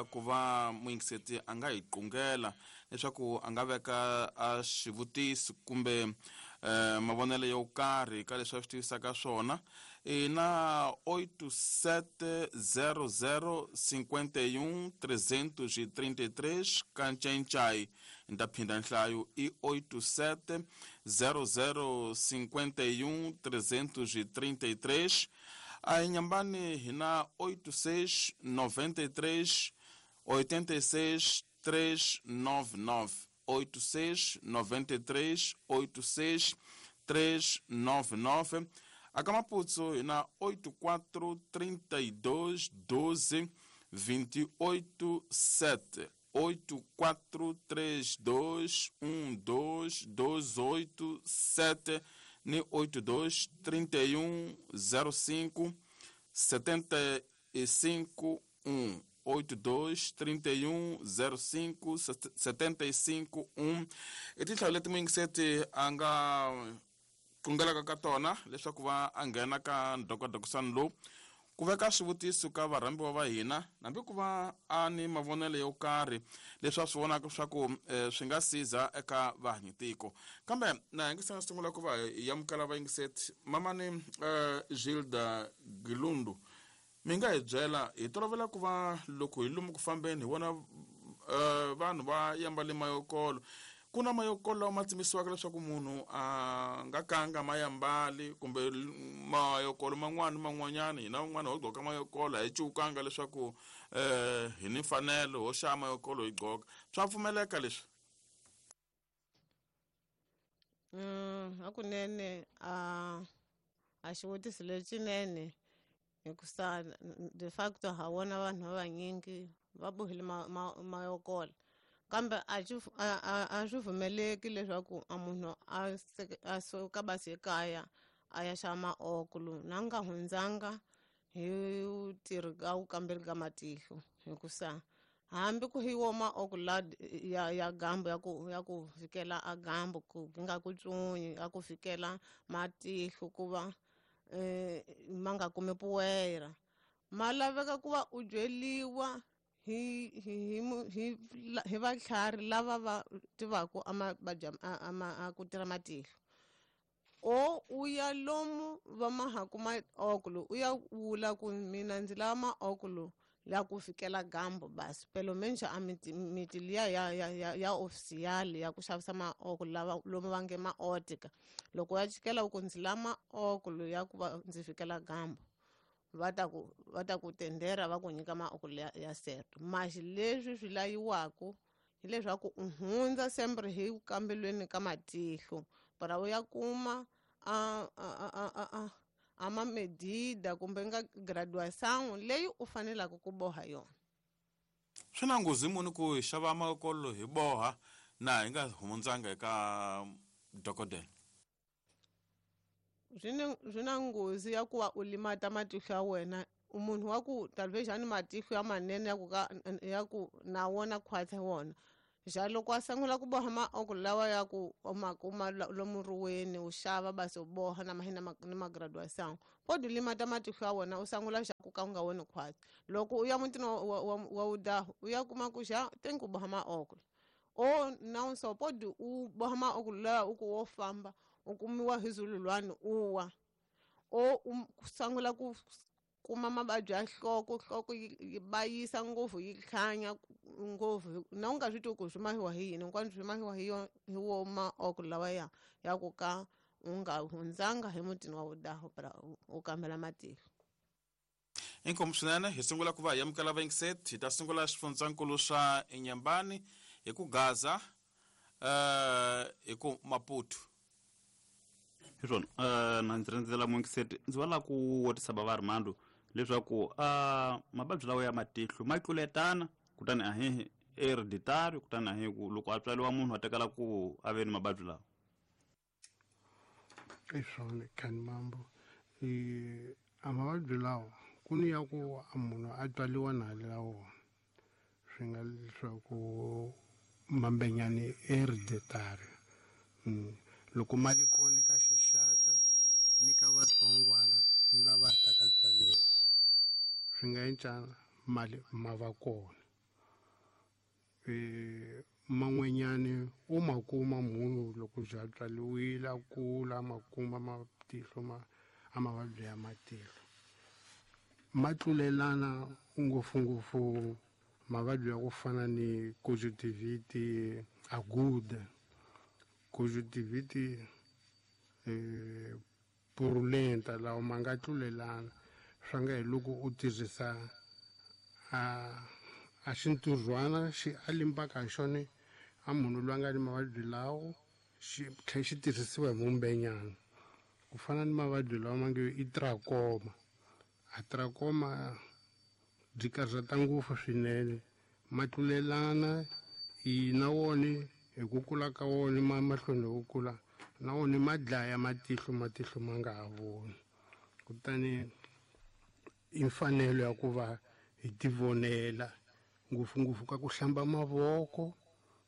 ku va muyingiseti a nga hi qungela leswaku a nga veka a xivutiso kumbe mavonelo yo karhi ka leswi a swi tivisaka swona i na oito sete zero zero cinquenta e um trezentos e trinta e três kancencai. Nda phinda nhlayo i oito sete zero zero cinquenta e um trezentos e trinta e três. A Inhambane hi na oito seis noventa e três oitenta e seis três nove nove. oito seis noventa e três oito seis três nove nove. A Kamaputso na oito quatro trinta e dois doze vinte e oito sete. oito quatro três dois um dois dois oito sete ni oito dois trinta e um zero cinco setenta e cinco um. oito dois trinta e um zero cinco setenta e cinco um. I tinhla leti muyingiseti a nga kungelaka ka tona leswaku va a nghena ka ndokodokisano lowu ku veka swivutiso ka varhambiwa va hina hambi ku va a ni mavonelo yo karhi leswi a swi vonaka leswaku swi nga siza eka vahanyitiko. Kambe na hi nga sungula ku va hi amukela vayingiseti mamani Gilda Gilundu mi nga hi byela hi tolovela ku va loko hi lomu ku fambeni hi vona vanhu va yambale mayokolo. Ku na mayokolo lawa ma tsimisiwaka leswaku munhu a nga kanga ma yambali kumbe mayokolo man'wana man'wanyana hina van'wana ho gqoka mayokolo a hi cukanga leswaku um hi ni mfanelo ho xava mayokolo hi gqoka. Swa pfumeleka leswi? Hakunene a a xivutiso lexinene hikusa de facto ha vona vanhu va vanyingi va bohile mayokolo kambe a a swi pfumeleki leswaku a munhu a a suka basi ekaya a ya xava maokolo na nga hundzanga hi tirhi ka wu kamberi ka matihlo hikusa hambi ku hi wo maokolo la ya ya gambo ya ku ya ku fikela a gambo ku nga ku tsunyi ya ku fikela matihlo ku va eh ma nga kumi poeira ma laveka ku va u byeliwa hi hi hi hi vatlhari lava va tivaka amabadya ama ku tirha matihlo o u ya lomu va mahaku maokolo u ya vula ku mina ndzi lava maokolo la ku fikela gambo basi pelo menos a miti miti liya ya ya ya ya official ya ku xavisa maokolo lava lomu va nge maotika loko ya chikela ku ndzi lava maokolo ya ku va ndzi fikela gambo va ta ku va ta ku tendera va ku nyika maokolo ya, ya certo maxi leswi swi layiwaka hileswaku u hundza sempre hi ku kambelweni ka matihlo para u ya kuma a a a a a a ma medida kumbe nga graduação leyi u fanelaka ku boha yona. Swi na nghozi muni ku hi xava makolo hi boha na hi nga hundzanga eka dokodela? Swi na nghozi ya ku va u limata matihlo ya wena munhu wa ku talvez a ni matihlo ya manene ya ku ka ya ku na wona khwatsi wona Ja loko a sungula ku boha maokolo lawa ya ku u ma kuma lomu ruweni u xava basi u boha na mahina na magraduation podi limata matihlo ya wena u sungula xa ku ka u nga voni khwatsi. Loko u ya mutini wa wa udahu u ya kuma ku xa ten ku boha maokolo o na so podi u boha maokolo lawa u ku wo famba u kumiwa hi zululwani u wa o u sungula ku kuma mavabyi ya nhloko, nhloko yi bayisa ngopfu yi hlanya ngopfu na u nga swi tivi ku swi mahiwa hi yini hinkwaswo swi mahiwa hi yo hi wo maokolo lawa ya ya ku ka u nga hundzanga hi mutini wa vudahu u kambela matihlo. Inkomu swinene hi sungula ku va hi amukela vayingiseti hi ta sungula xifundzankulu xa Inhambane hi ku Gaza uh, hi ku Maputo. Hi swona uh, na ndzi rindzela muyingiseti ndzi va lava ku vutisa bava Armando leswaku uh, mavabyi lawa ya matihlo ma tluletana kutani a hi hereditary kutani a hi ku loko a tswariwa munhu a tekela ku a ve ni mavabyi lawa. I swona khani mambo i a mavabyi lawa ku ni ya ku a munhu a tswariwa na la wona swi nga leswaku mambenyani hereditary mm. Loko mali kona ka xixaka ni ka vatsongwana ni lava ta ka tswariwa swi nga encana mali ma va kona e man'wanyani u ma kuma munhu loko bya tswariwile a kula ma kuma matihlo ma a mavabyi ya matihlo ma tlulelana ngopfungopfu mavabyi ya ku fana ni conjunctivite aguda, conjunctivite eh, purulenta lawa ma nga tlulelana swa nga hi loko u tirhisa a a xintirhwana xi a limbaka hi xona a munhu loyi a nga ni mavabyi lawo xi tlhela xi tirhisiwa hi mumbenyana ku fana ni mavabyi lawa ma nge i trachoma. A trachoma byi karhata ngopfu swinene ma tlulelana i na wona hi ku kula ka wona ma mahlweni hi ku kula na wona ma dlaya matihlo matihlo ma nga ha voni kutani i mfanelo ya ku va hi tivonela ngopfungopfu ka ku hlamba mavoko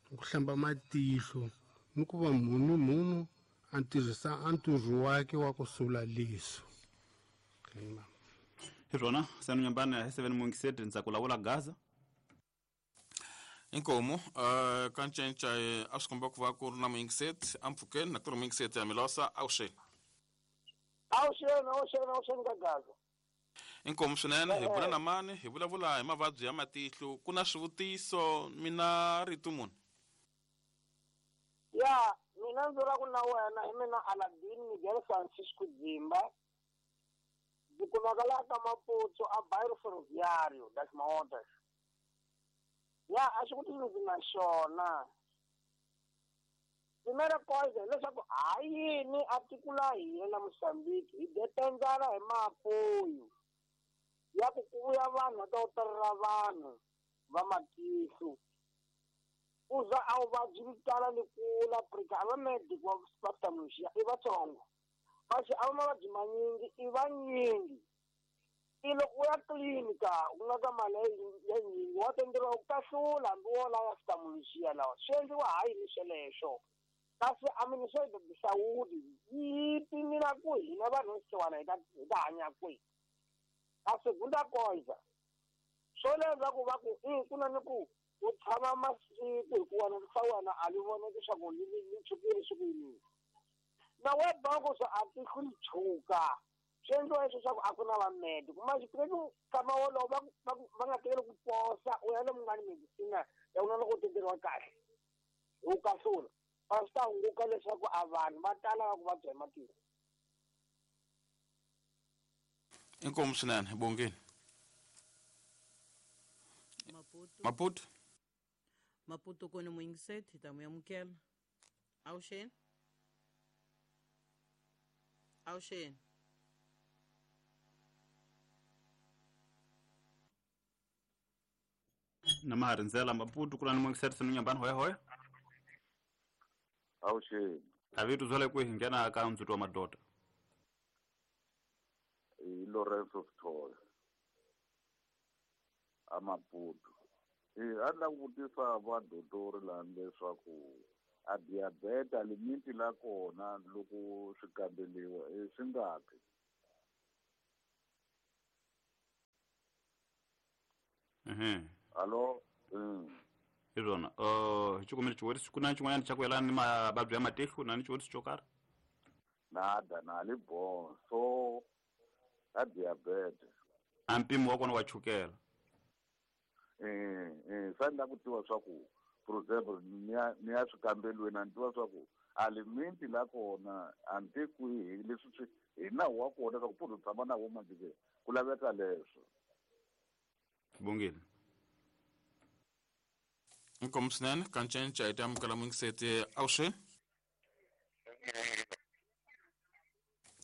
ku hlamba matihlo ni ku va munhu munhu a tirhisa a ntirho wakhe wa ku sula liso. Hi swona sanu Nyambane hi seven muyingiseti ndza ku lawula Gaza. Inkomu uh, ka ncenca a swi komba ku va ku ri na muyingiseti ampfhukeni na ku ri muyingiseti ya Milosa awuxeni. Awuxeni awuxeni awuxeni ka Gaza. Inkomu swinene hi bula na mani hi vulavula hi mavabyi ya matihlo ku na swivutiso mina rito munhu. Ya mina ndzi ra ku na wena hi mina Aladin Miguel Francisco Dzimba ndzi kumeka laha ka Maputo a Bairro Ferroviário das Maontas. Ya a xivutiso ndzi na xona primeira coisa hileswaku ha yini a tiko la hina la Mozambique hi dependzana hi maapoyo ya ku ku vuya vanhu va ta operera vanhu va matihlo ku za a vuvabyi byi tala ni kula Afrika a va medic va ophthalmology i vatsongo kasi a va mavabyi manyingi i vanyingi i loko u ya tliliniki u nga ka mali ya nyingi wa tenderiwa ku kahlula hambi wo lava ophthalmology lawa swi endliwa ha yini sweleswo kasi a ministry of saúde yi pimela ku hina vanhu va xisiwana hi ta hi ta hanya kwihi a segunda coisa swo leswaku va ku i ku na ni ku u tshama masiku hikuva na swa wena a li voneki swa ku li li tshukile swi ku yini na we bango swa a tihlo li tshuka swi endliwa leswo swa ku a ku na vamedi kuma xipireki nkama wolowo va va va nga tekeli ku posa u ya lomu nga ni medicina ya ku na loko u teteriwa kahle u kahlula a swi ta hunguka leswaku a vanhu va tala va ku vabya hi matihlo. Inkomu swinene bongeni. Maputo. Maputo. Maputo kona muyingiseti hi ta mu amukela. Awuxeni. Awuxeni. Na ma ha rindzela Maputo ku na ni muyingiseti sanu Nyambane hoya hoya. Awuxeni. A vito byale kwihi nghena ka ndzhuti wa madoda. I Lorenzo Sithole. A Maputo. Eh a la ku vutisa va dotori la leswaku a diabeta limiti la kona loko swi kambeliwa i swi ngaki. Mhm. Alo mm. Hi swona uh hi xikombiso xivutiso ku na xin'wanyana xa ku yelana ni mavabyi ya matihlo na ni xivutiso xo karhi? Nada na li bon so a diabete a mpimo wa kona wa chukela. Eh eh sa ni la ku tiva swa ku for example ni ya ni ya swikambelweni a ni tiva swa ku a limiti la kona a ni tivi kwihi leswi swi hi nawu wa kona swa ku pfuno tshama na wo manje ke ku laveka leswo. Bongile. Inkomu swinene ka ncinca hi ta amukela muyingiseti avuxeni.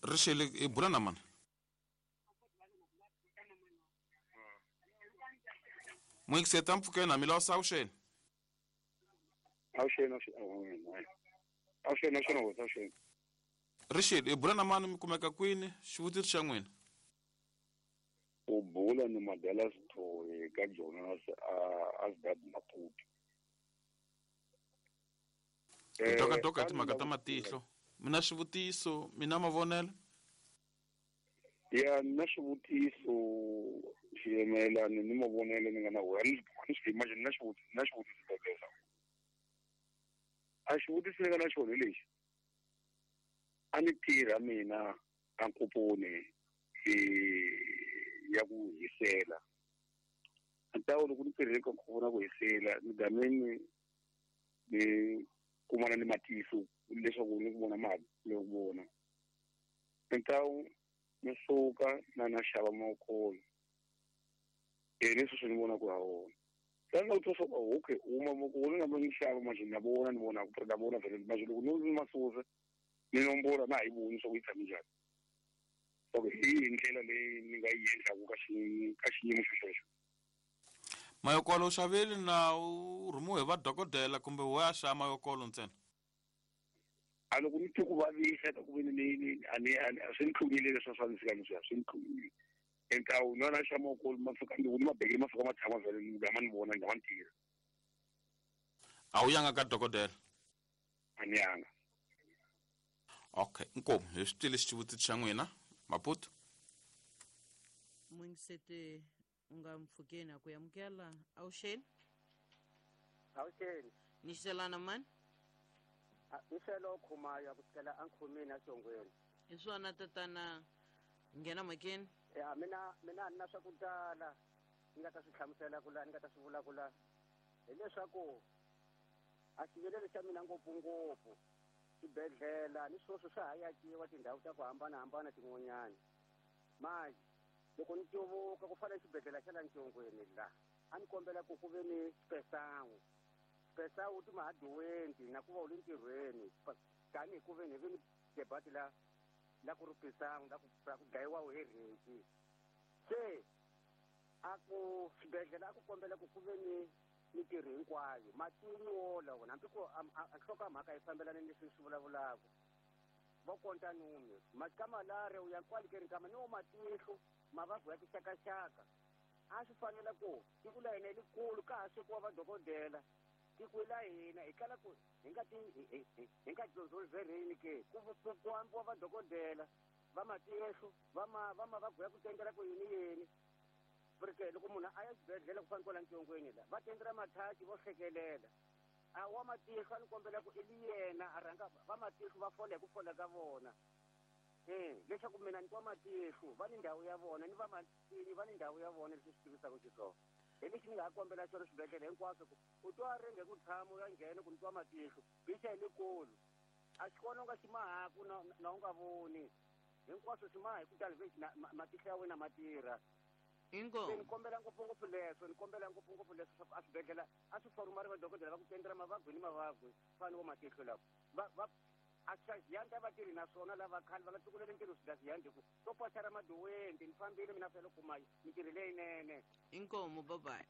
Ri xile i bula na mani? Muyingiseti a mpfhukeni mi lawusa avuxeni. Avuxeni avuxeni avuxeni avuxeni avuxeni. Ri xile i bula na mani mi kumeka kwini xivutiso xa n'wina? U bula ni Madela Sithole ka Jonas a Asgard Maputo. Hi dokadoka hi timhaka ta matihlo. Mina xivutiso, mina mavonelo? Ya na xivutiso xiyemelana ni mavonelo ni nga na wona. Ni swi imagine na xivutiso na xivutiso bebela. A xivutiso ni nga na xona lexi. A ni tirha mina a nkoponi ya ku hisela. Ntawo loko ni tirhile ka nkoponi ya ku hisela ni gameni ni kumana ni matihlo leswaku ni ku vona mali ni ku vona. Ntawo ni suka na na xava makolo. E leswi swi ni vona ku ha wona. Sasa u twa swa ku okay uma makolo na ni xava manje na vona ni vona ku na vona vele manje loko ni masusa ni nombora na hi voni swa ku yi tshame njhani. Okay, hi ndlela leyi ni nga yi endlaku ka xi ka xiyimo xo xexo. Mayokolo u xavile na u rhumiwe hi va dokodela kumbe wo ya xava mayokolo ntsena? A loko ni twe ku vavisa ka ku veni ni ni a ni a swi ni tlungile leswi swa ni fika ni swi swi ni tlungile. Entawu na na xava mayokolo ma fika ni ni mabekele ma fika ma tshama vhele ni gama ni vona ni gama ni tirha. A wu yanga ka dokodela? A ni yanga. Okay, inkomu hi swi twile xivutiso xa n'wina. Maputo. Muyingiseti u nga mpfhukeni a ku amukela avuxeni. Avuxeni. Ni xelana mani? Ni xelo Khumaya ku sukela ankhomeni axongweni. Hi swona tatana nghena mhakeni. Ya mina mina ni na swa ku tala ni nga ta swi hlamusela ku la ni nga ta swi vula ku la hileswaku a xivilelo xa mina ngopfungopfu xibedhlele ni swoswo swa ha yakiwa tindhawu ta ku hambanahambana tin'wanyana. Manje loko ni tyovoka ku fana xibedhlele xa la Ntshongweni la a ni kombela ku ku ve ni xipesangu. Xipesangu ti mahaduwenti na ku va u le ntirhweni tanihi ku ve ni ve ni debate la la ku ri pisangu la ku la ku dlayiwa hi rheti. Se a ku xibedhlele a ku kombela ku ku ve ni mintirho hinkwayo matini wolawo hambi ku a nhlokomhaka yi fambelana ni leswi swi vulavulaka va konta nume ka malaria u ya kwale ke nkama ni wo matihlo mavabyi ya tixakaxaka a swi fanele ku tiko la hina likulu ka ha swekiwa vadokodela tiko la hina hi kala ku hi nga ti hi nga dyondzolvereni ke ku ku ambiwa vadokodela va matihlo va ma va mavabyi ya ku tendela ku yini yini. Porque loko munhu a ya xibedhlele ku fana kwala Ntshongweni la va tendela mathachi vo hlekelela a wa matihlo a ni kombela ku i yena a rhanga va matihlo va fola hi ku fola ka vona eh leswaku mina ni twa matihlo va ni ndhawu ya vona ni va matini va ni ndhawu ya vona leswi swi tivisaka xiswona hi lexi ni nga ha kombela xona swibedhlele hinkwaswo ku u twa ringe ku tshama u ya nghena ku ni twa matihlo bixa hi lekulu a xi kona u nga xi mahaku na na u nga voni hinkwaswo swi maha hi ku tani matihlo ya wena ma tirha. Inkomu. Ni kombela ngopfungopfu leswo ni kombela ngopfungopfu leswo swa ku a swibedhlele a swi forumari vadokodela va ku tendela mavabyi ni mavabyi fana wo matihlo lawa va va a swaziyanda vatirhi naswona lava khale va nga tsukuleli ntirho swidaziyandi ku to pochara maduwenti ni fambile mina fela kuma mintirho leyinene. Inkomu bye bye.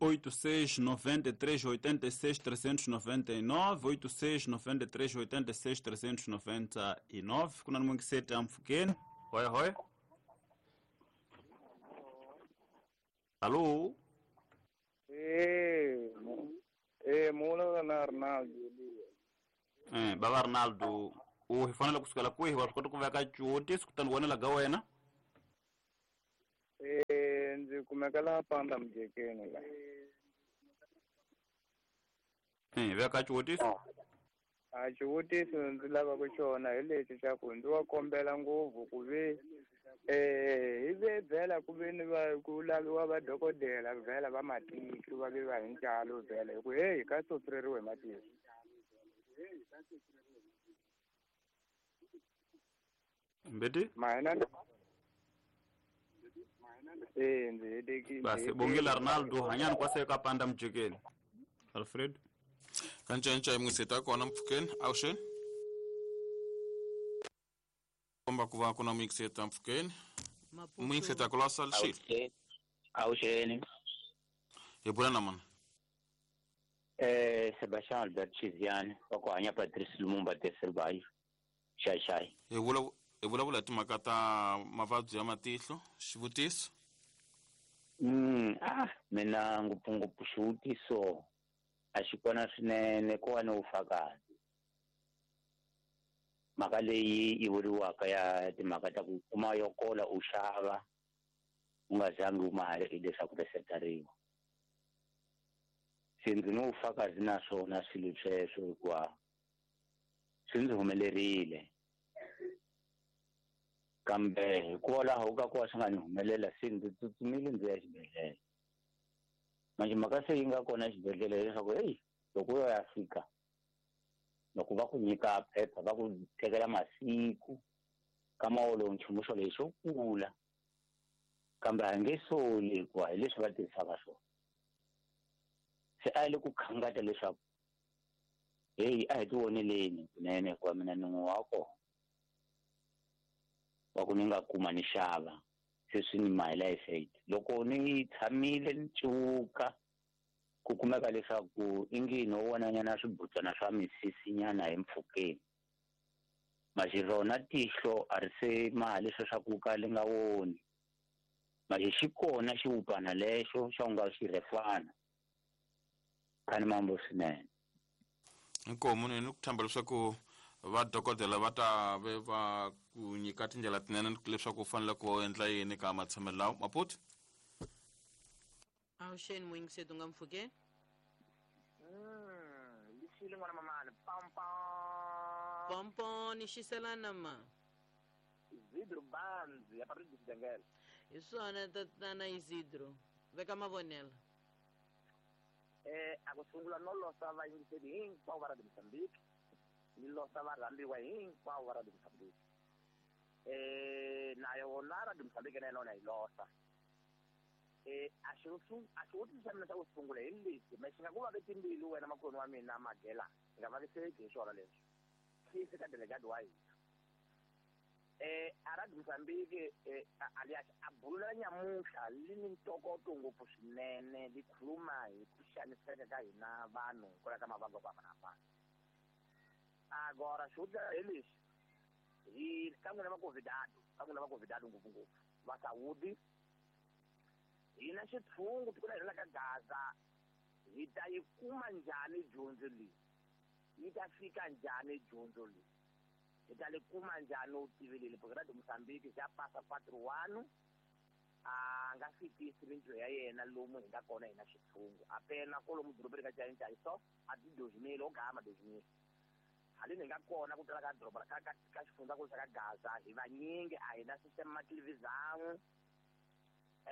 oito seis noventa e três oitenta e seis trezentos e noventa e nove, oito seis noventa e três oitenta e seis trezentos e noventa e nove. Kuna muyingiseti amfukeni. Hoi hoi. Alô? Eh, Eh baba Arnaldo u hi fanele ku sukela kwihi wa swi kota ku veka xivutiso kutani vonela ga wena? Eh ndzi kumeka laha Panda Mujekeni la. Eh veka xivutiso. A xivutiso ndzi lavaka xona hi lexi xa ku ndzi wa kombela ngopfu ku ve eh hi ve vhela ku ve ni va ku laviwa vadokodela vhela va matihlo va ve va hi ntalo vhela hi ku heyi ka sotreriwe hi matihlo. Mbeti? Mahina eh ndzi hetekile. Basi bongile Arnaldo hanyani kwase ka Panda Mujekeni. Alfred kancinca imwiseta kona mpfhukeni awuxeni komba ku va ku na muyingiseta mpfhukeni muyingiseta ku lasa lexi awuxeni hi bula na mani eh Sebastian Albert Chiziane wa ku hanya Patrice Lumumba Teselbayi xaxai hi vula hi vulavula hi timhaka ta mavabyi ya matihlo xivutiso mm ah mina ngopfungopfu xivutiso a xi kona swinene ko va ni vufakazi mhaka leyi yi vuriwaka ya timhaka ta ku kuma yo kola u xava u nga zangi u mali hileswaku resetariwa se ndzi ni vufakazi na swona swilo sweswo hikuva swi ndzi humelerile kambe hikwalaho ka ku va swi nga ni humelela se ndzi tsutsumile ndzi ya xibedhlele manje mhaka se yi nga kona exibedhlele hileswaku heyi loko u ya fika loko va ku nyika phepha va ku tekela masiku ka mawolo nchumu xo lexo kula kambe a nge soli hikuva hi leswi va tirhisaka swona se a yi le ku khangata leswaku heyi a hi ti voneleni kunene hikuva mina ni n'we wa kona wa ku ni nga kuma ni xava se swi ni mahela effect loko ni tshamile ni cuka ku kumeka leswaku i ngi no vonanyana swibutswana swa misisinyana hi mpfhukeni maxi rona tihlo a ri se maha leswo swa ku ka li nga voni maxi xi kona xiwupana lexo xa ku nga xirhefana khani mambo swinene inkomu ni ku tshemba leswaku vadokodela va ta ve va ku nyika tindlela tinene leswaku u fanele ku endla yini ka matshamelo lawa Maputo awuxeni muyingiseti u nga mpfhukeni mm lixile n'wana mamani pam pam pompo ni xiselana ma Isidro Banzi ya Patrick Xidengele hi swona tatana Isidro veka mavonelo eh a ku sungula no losa vayingiseri hinkwavo va Radio Mozambique ni losa varhambiwa hinkwavo va Radio Mozambique eh na yona Radio Mozambique na yona yi losa eh a xi a xivutiso xa mina xa ku sungula hi lexi me xi nga ku vavi timbilu wena makhoni wa mina Magela xi nga vaviseki hi swona leswi xi ka delegate wa hina eh a Radio Mozambique eh alias a bululela nyamuntlha li ni ntokoto ngopfu swinene li khuluma hi ku xaniseka ka hina vanhu kwala ka mavabyi ku hambanahambana agora xivutiso hi lexi hi ka n'wina va Covidado ka n'wina va Covidado ngopfungopfu va Saudi hina xitshungu tiko la hina la ka Gaza hi ta yi kuma njhani dyondzo leyi yi ta fika njhani dyondzo leyi hi ta li kuma njhani u tivilile porque Radio Mozambique xa pasa quatro ano a nga fikisi mintirho ya yena lomu hi nga kona hina xitshungu apena kolomu dorobeni ka Chainchayi so a ti dois mil o gama dois mil haleni hi nga kona ku tala ka doroba ka ka ka xifundzankulu xa ka Gaza hi vanyingi a hi na system ma televisão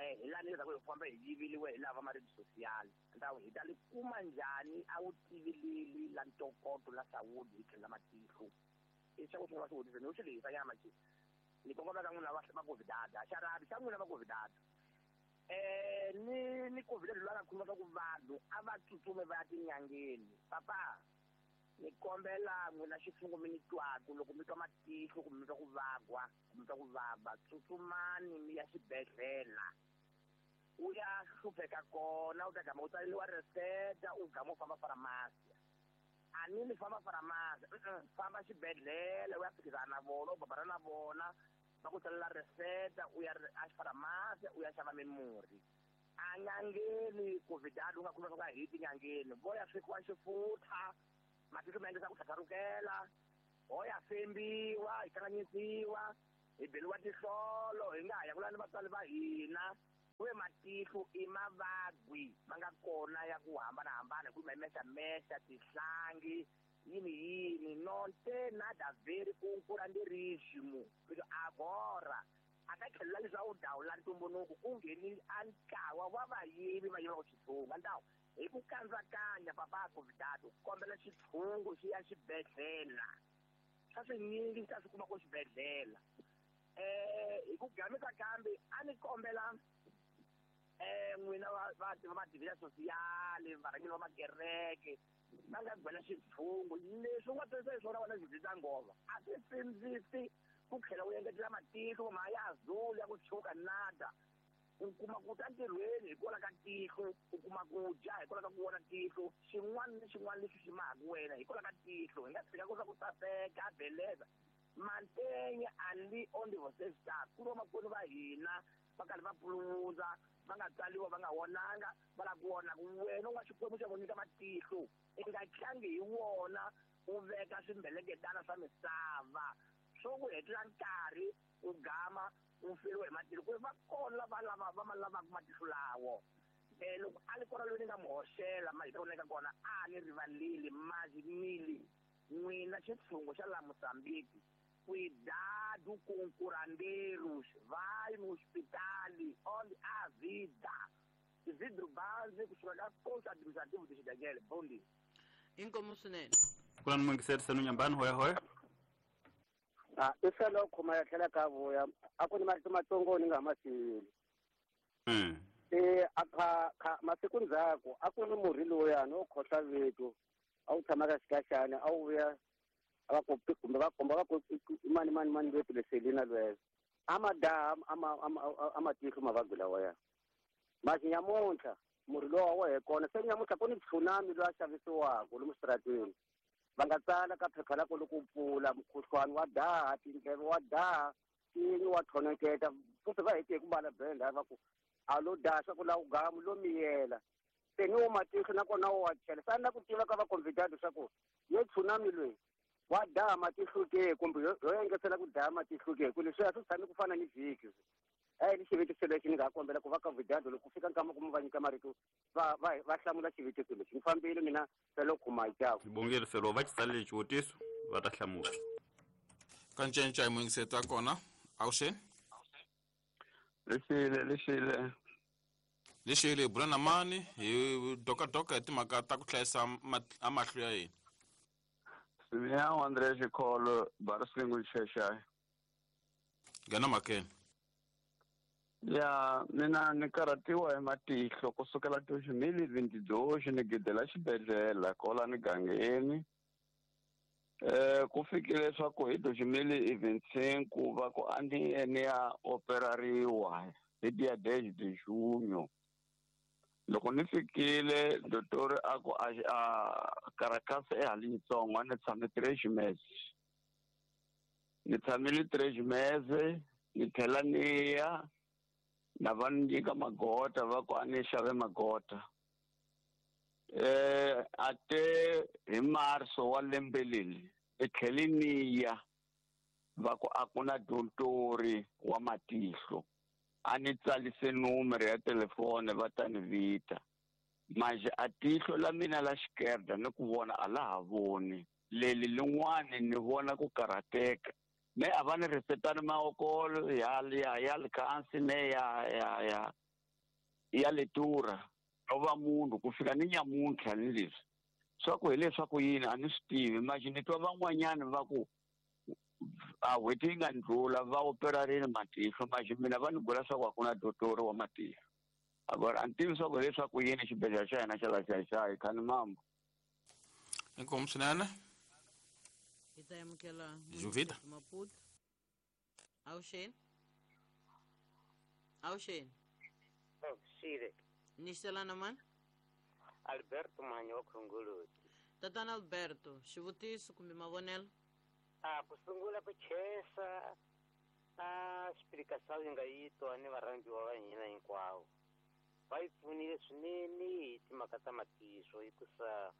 eh hi lani leswaku hi famba hi yiviliwe hi lava ma radio social ndawu hi ta li kuma njhani a wu tivilili la ntokoto la Saudi hi tlhela matihlo i xa ku sungula xivutiso ni u xi lehisa nyama xi ni kongoma ka n'wina va va Covidado a xarabi xa n'wina va Covidado eh ni ni Covidado loyi a nga khuluma swa ku vanhu a va tsutsume va ya tinyangeni papa ni kombela n'wina xitshungu mi ni twaku loko mi twa matihlo kumbe mi twa ku vagwa kumbe mi twa ku vava tsutsumani mi ya xibedhlele u ya hlupheka kona u ta gama u tsaleriwa reseta u gama u famba faramasi a ni ni famba faramasi famba xibedhlele u ya phikizana na vona u babana na vona va ku tsalela reseta u ya a faramasi u ya xava mimurhi a nyangeni Covidado u nga khuluma swa ku a hi tinyangeni vo ya swekiwa xifutha Matihlo ma endlisa ku tlhatlharukela, ho ya fembiwa, hi kanganyisiwa, hi beriwa tihlolo, hi nga ha ya ku lava ni vatswari va hina. Ku ve matihlo i mavabyi ma nga kona ya ku hambanahambana, hi ku ma mexamexa, tihlangi, yini yini, non tem nada a ver com curanderismo. Agora, a ka tlhelo la leswaku dawu la ntumbuluko ku ngheni a ntlawa wa vayivi va yivaka xitshungu. Ndawu hi ku kandzakanya papa convidado kombela xitshungu xi ya xibedhlele. Swa swinyingi xi ta swi kuma ko xibedhlele. Eh hi ku gamisa kambe a ni kombela eh n'wina va va va mativila sosiyali, varhangeri va makereke va nga gwela xitshungu leswi u nga tirhisa hi swona wena xi ngova a swi sindzisi ku tlhela u engetela matihlo ma ya azul ya ku tshuka nada. U kuma ku ta ntirhweni hikwalaho ka tihlo, u kuma ku dya hikwalaho ka ku vona tihlo, xin'wana ni xin'wana lexi xi mahaka wena hikwalaho ka tihlo. Hi nga tshika ku swa ku saseka beleza mantenye ali onde você está. Ku ri vamakwenu va hina va karhi va puluvundza, va nga tsaliwa, va nga vonanga, va lava ku vona ku wena u nga Xikwembu xa ku nyika matihlo, i nga tlangi hi wona u veka swimbeleketana swa misava swo ku hetela nkarhi u gama u feriwa hi matihlo. Ku va kona lava lava va ma lavaka matihlo lawo. Eh loko a li kona loyi ni nga mu hoxela ma hita ku neka kona a ni rivaleli mazinili n'wina xitshungu xa la Mozambique. Cuidado com curandeiros, vai no hospital onde há vida. Isidro Banzi, kusuka ka posto administrativo de Xidagele. Bom dia. Inkomu swinene. Kulani muyingiseri senu Nyambani, hoya hoya. Ah, i fela u khoma ya tlhela ka vuya. A ku ni marito matsongo ni nga ma siyeli. Mm. Eh a kha kha masiku ndzhaku a ku ni murhi lowuyani wo khohla vito. A wu tshama ka xikaxana, a wu vuya va ku kumbe va komba va ku mani mani mani lwetu leselina lweyo. A ma daha ama ama matihlo mavabyi lawa ya. Masi nyamuntlha murhi lowu wa he kona se nyamuntlha ku ni tsunami lowu a xavisiwaka lomu xitarateni. Va nga tsala ka phepha la ku loko u pfula mukhuhlwani wa daha, tindleve wa daha, tinyi wa thoneketa. Futhi va hete hi ku bala benda va ku a lo daha swa ku la u gamu lo miyela. Se ni wo matihlo nakona wo wa chela. Sa na ku tiva ka va convidado swa ku ye tsunami loyi wa daha matihlo ke kumbe yo engetela ku daha matihlo ke ku leswi a swi tshami ku fana ni vhiki. Eh ni xivutiso lexi ni nga kombela ku va ka vidado loko fika nkama ku va nyika marito va va va hlamula xivutiso lexi. Ni fambile mina felo khuma jaku. Bongile felo va xi tsalele xivutiso va ta hlamula. Ka ncenca hi muyingiseri wa kona. Awuxeni. Lexile lexile. Lexile bula na mani hi doka doka hi timhaka ta ku hlayisa amahlo ya hina. Simeão André Gicolo, Baraslingo de Xexai. Ngena makeni. Ya, mina ni karhatiwa hi matihlo kusukela dois mil e vinte e dois ni gidela xibedhlele kwala migangeni. Eh ku fikile leswaku hi dois mil e vinte e cinco va ku a ni ye ni ya operariwa hi dia dez de junho. Loko ni fikile dotori a ku a a karakasa e hali yitsongo a ni tshame três meses. Ni tshamile três meses ni tlhela ni ya na va ni nyika magota va ku a ni xave magota. Eh ate hi marso wa lembe leri e tlhele ni ya va ku a ku na dotori wa matihlo. A ni tsalise numero ya telefone va ta ni vita. Manje a tihlo la mina la xikerda ni ku vona a la ha voni. Leli lin'wani ni vona ku karhateka. Me a va ni resetani maokolo ya ya ya likansi ne ya ya ya ya letura. No va munhu ku fika ni nyamuntlha ni leswi. Swa ku hileswaku yini a ni swi tivi. Manje ni twa van'wanyani va ku a n'hweti yi nga ndlula va operarile matihlo manje mina va ni byela swa ku a ku na dotori wa matihlo. Agora a ni tivi swa ku hileswaku yini xibedhlele xa hina xa la Xaxai khani mambo. Inkomu swinene. Hi ta amukela Juvita. Maputo. Awuxeni. Awuxeni. Awuxile. Ni xelana mani? Alberto Manyo wa Khongoloti. Tatana Alberto, xivutiso kumbe mavonelo? A ku sungula ku chesa a explicação yi nga yi twa ni varhandziwa va hina hinkwavo. Va yi pfunile swinene hi timhaka ta matihlo hikusa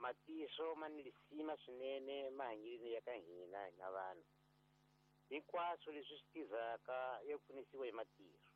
Matihlo ma ni lisima swinene mahanyelweni ya ka hina hina vanhu. Hinkwaswo leswi swi tirhaka ya pfunisiwa hi matihlo.